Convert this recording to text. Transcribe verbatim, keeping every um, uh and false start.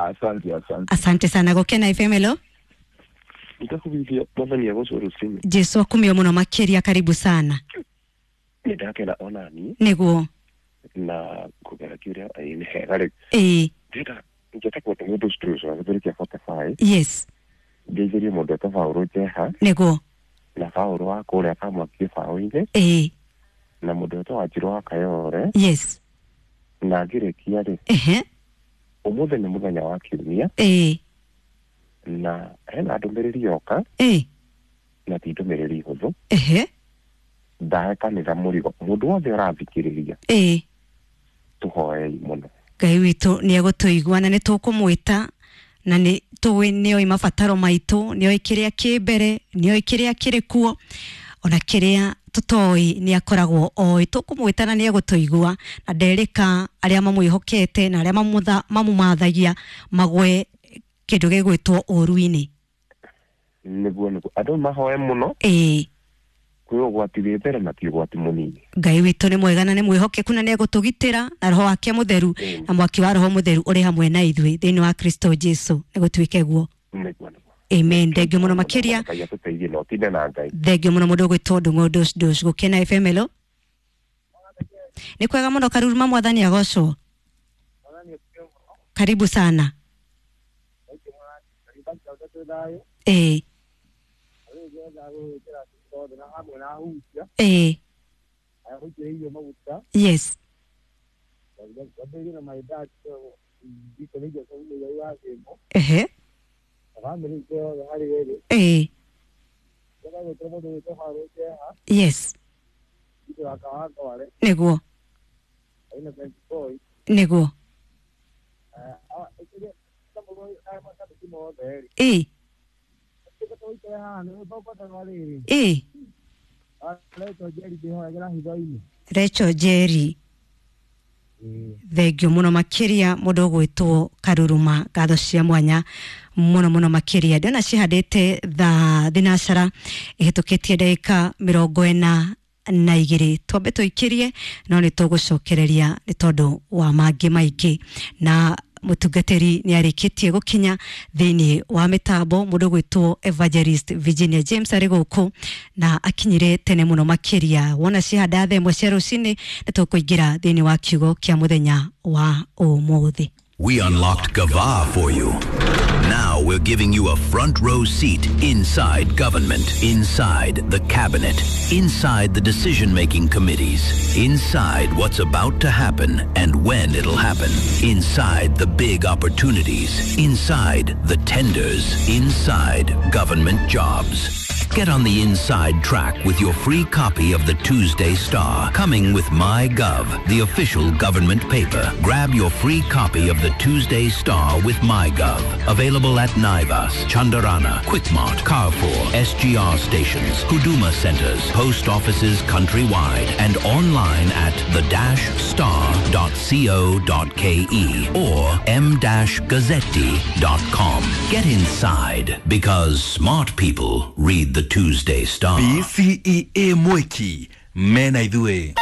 Asante, asante. Asante sana. Gukena F M hello. Nitakubiria mwathani agocwo rucini. Jesu akumio muno makiria, karibu sana. Nindakena onani niguo na kugera kiuria nĩ hega rĩ. Ĩĩ. Ndĩrenda njĩtagwo nĩ mũndũ Struce wa gĩthũri kĩa forty five. Yes. Ngeithĩrie mũndũ etwo Paũlũ Njeha. Niguo. Na Paũlũ wa kũrĩa Kamwaki gĩbaũ-inĩ. Ĩĩ. Na mũndũ etwo Wanjirũ wa Kayore. Yes. Na ngĩrĩkia rĩ. Ehe. Ũmũthĩ nĩ mũthenya wa kiumia. Ĩĩ. Na hena ndũmĩrĩri yoka. Ĩĩ. Na ti ndũmĩrĩri hũthũ. Ehe. Ndahe kanitha mũrigo mũndũ wothe ũrathikĩrĩria. Ĩĩ. Tũhoei mũno. Ngai witũ nĩ egũtũigua na nĩ tũkũmwĩta na nĩ tũĩ nĩoĩ mabataro maitũ, nĩoĩ kĩrĩa kĩ mbere, nĩoĩ kĩrĩa kĩrĩ kuo, ona kĩrĩa tũtoĩ nĩ akoragwo oĩ. Tũkũmwĩta na nĩ egũtũigua na nderĩka arĩa mamwĩhokete na arĩa mamũmathagia magwe kĩndũ gĩgwĩtwo ũũru-inĩ. Nĩguo, nĩguo andũ mahoe mũno. Ĩĩ. Kwĩ ũgwati wĩ mbere na ti ũgwati mũnini. Ngai witũ nĩ mwega na nĩ mwĩhokeku na nĩ egũtũgitĩra na roho wake mũtheru na mwaki wa roho mũtheru ũrĩ hamwe na ithuĩ thĩinĩ wa Kristo Jesu. Nĩ gũtuĩke guo. Nĩguo, nĩguo. Amen. Thengio mũno makĩria. Ngai atũteithie na ũtinde na Ngai. Thengio mũno mũndũ ũgwĩtwo Ndung'u Ndush Ndush. Gũkena F M hello. Nĩ kwega mũno Karuruma, mwathani agocwo. Karibu sana. Ĩĩ. Ĩĩ. Yes. Ehe. Ĩĩ. Yes. Nĩguo. Nĩguo. Ĩĩ. Ĩĩ. Rachel Jerry. Thengio mũno makĩria mũndũ ũgwĩtwo Karuruma, ngatho cia mwanya mũno mũno makĩria. Ndĩrona cihandĩte thaa thinacara ĩhĩtũkĩtie ndagĩka mĩrongo ĩna na igĩrĩ. Twambe tũikĩrie no nĩ tũgũcokereria nĩ tondũ wa mangĩ maingĩ, na mũtungatĩri nĩ arĩkĩtie gũkinya thĩinĩ wa mĩtambo. Mũndũ gwĩtwo Evangelist Virginia James arĩ gũkũ na akinyire tene mũno makĩria. Wona cihanda thaa ĩmwe cia rũcinĩ nĩ tũkũingĩra thĩinĩ wa kiugo kĩa mũthenya wa ũmũthĩ. We unlocked Gava for you. Now we're giving you a front row seat inside government, inside the cabinet, inside the decision-making committees, inside what's about to happen and when it'll happen, inside the big opportunities, inside the tenders, inside government jobs. Get on the inside track with your free copy of the Tuesday Star, coming with MyGov, the official government paper. Grab your free copy of the Tuesday Star with MyGov. Available at Naivas, Chandarana, Quickmart, Carrefour, S G R stations, Huduma centers, post offices countrywide, and online at the dash star dot co dot ke or m dash gazzetti dot com. Get inside, because smart people read the Tuesday Star. B C E A Mwiki, mena ithuĩ.